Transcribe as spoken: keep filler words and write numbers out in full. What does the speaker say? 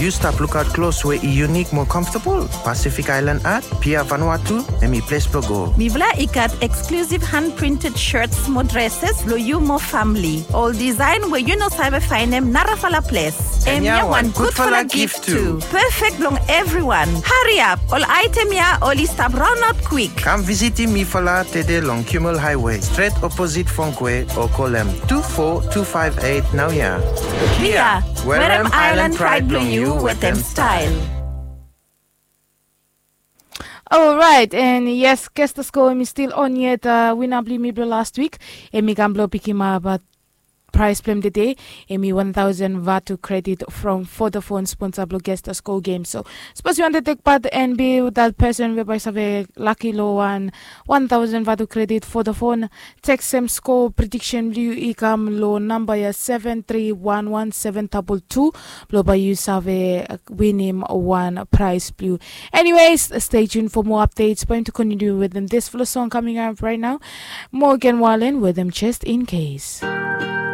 Yu stap lukaot klos we i yunik mo komfotabol? Pacific Island Art, Pia Vanuatu, em i ples blong go. Mifala i gat eksklusif han printed shirts mo dresses blong yu mo famili. Ol design we yu no save fainem narafala ples. Em ya wan gudfala gif tu. Perfect blong evriwan. Hariap, ol aetem ya oli stap raonaot kwik. Kam visitim mifala tede long Kimmel Highway, stret oposit Fongkwe, o kolem tu fo tu faef eit naoia. Pia, werem Island Pride blong yu wetem style. Alright, and yes, Kestasko em i stil on yet, uh, wina blong yumi blong last week. Em i kam blong pikimap, uh, prize blong em today. Em i one thousand vatu credit from Vodafone, sponsor blong Kestasko game. So, sapos yu wantem tek part and be that person we bae save laki long wan one thousand vatu credit Vodafone, teksem score prediction blong yu i kam long namba ya seven three one one seven double two. Blong bae yu save, uh, winim wan prize blong yu. Anyways, stay tuned for more updates. Bae mi tu continue wetem this flow song coming up right now. Morgan Wallen wetem Just In Case.